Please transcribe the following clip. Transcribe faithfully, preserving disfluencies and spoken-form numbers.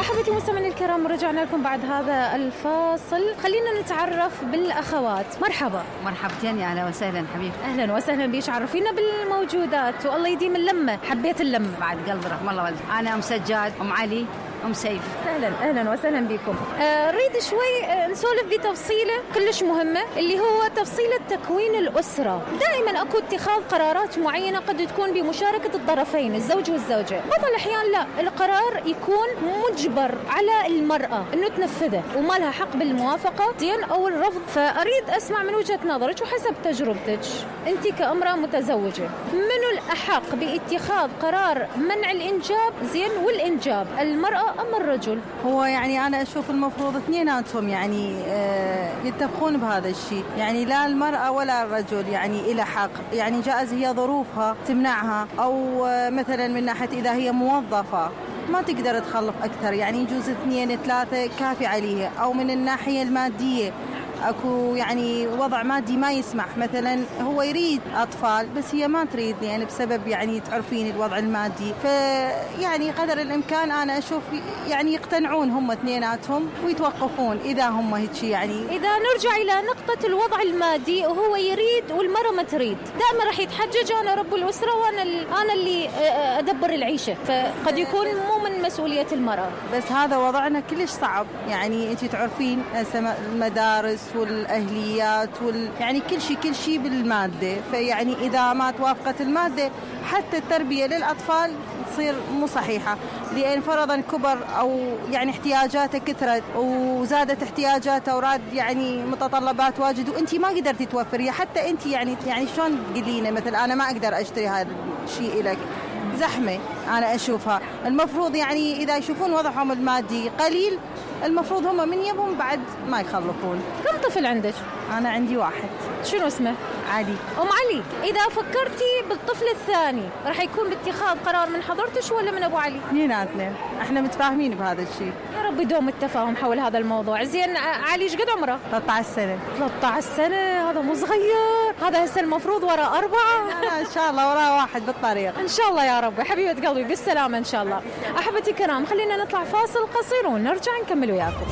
أحبتي المستمعين الكرام، رجعنا لكم بعد هذا الفاصل. خلينا نتعرف بالأخوات. مرحبا. مرحبتين، يا أهلا وسهلا حبيبي. أهلا وسهلا بيش، عرفينا بالموجودات والله يديم اللمة. حبيت اللمة بعد قلب رحم الله والدي. أنا أم سجاد، أم علي، أم سيف. أهلا أهلا وسهلا بكم. آه ريد شوي آه نسولف بتفصيلة كلش مهمة اللي هو تفصيلة تكوين الأسرة. دائما أكو اتخاذ قرارات معينة قد تكون بمشاركة الطرفين الزوج والزوجة. بعض الأحيان لا، القرار يكون مجبر على المرأة إنه تنفذه وما لها حق بالموافقة زين أو الرفض. فأريد أسمع من وجهة نظرك وحسب تجربتك أنت كأمرأة متزوجة، منو الأحق باتخاذ قرار منع الإنجاب زين والإنجاب، المرأة أم الرجل؟ هو يعني أنا أشوف المفروض اثنيناتهم يعني آه يتفقون بهذا الشيء، يعني لا المرأة ولا الرجل يعني إلى حق. يعني جائز هي ظروفها تمنعها، أو آه مثلا من ناحية إذا هي موظفة ما تقدر تخلف أكثر، يعني يجوز اثنين ثلاثة كافي عليها. أو من الناحية المادية أكو يعني وضع مادي ما يسمح، مثلا هو يريد أطفال بس هي ما تريد يعني بسبب يعني تعرفين الوضع المادي. فيعني قدر الإمكان أنا أشوف يعني يقتنعون هم اثنيناتهم ويتوقفون إذا هم هيك. يعني إذا نرجع إلى نقطة الوضع المادي وهو يريد والمرأة ما تريد، دائما راح يتحجج أنا رب الأسرة وأنا أنا اللي أدبر العيشة، فقد يكون مو من مسؤولية المرأة. بس هذا وضعنا كلش صعب، يعني أنت تعرفين المدارس والأهليات وال... يعني كل شيء كل شيء بالمادة. فيعني إذا ما توافقت المادة حتى التربية للأطفال تصير مو صحيحة، لأن فرضا كبر أو يعني احتياجاته كثرت وزادت احتياجاته وراد يعني متطلبات واجد وأنت ما قدرتي توفريها. حتى أنت يعني يعني شلون تقولين مثل أنا ما أقدر أشتري هذا الشيء لك، زحمة أنا أشوفها. المفروض يعني إذا يشوفون وضعهم المادي قليل المفروض هم من يبهم بعد ما يخلفون. كم طفل عندك؟ أنا عندي واحد. شنو اسمه؟ علي. أم علي، إذا فكرتي بالطفل الثاني راح يكون باتخاذ قرار من حضرتك ولا من أبو علي؟ اثنيناتنا، احنا متفاهمين بهذا الشيء. يا رب يدوم التفاهم حول هذا الموضوع. زين علي ايش قد عمره؟ ثلاثة عشر سنة. ثلاثة عشر سنة، هذا مو صغير، هذا هسه المفروض وراء أربعة. لا إن شاء الله وراء واحد بالطريق. إن شاء الله يا رب. حبيبة قلبي بالسلامة إن شاء الله. أحبتي الكرام، خلينا نطلع فاصل قصير ونرجع نكمل وياكم.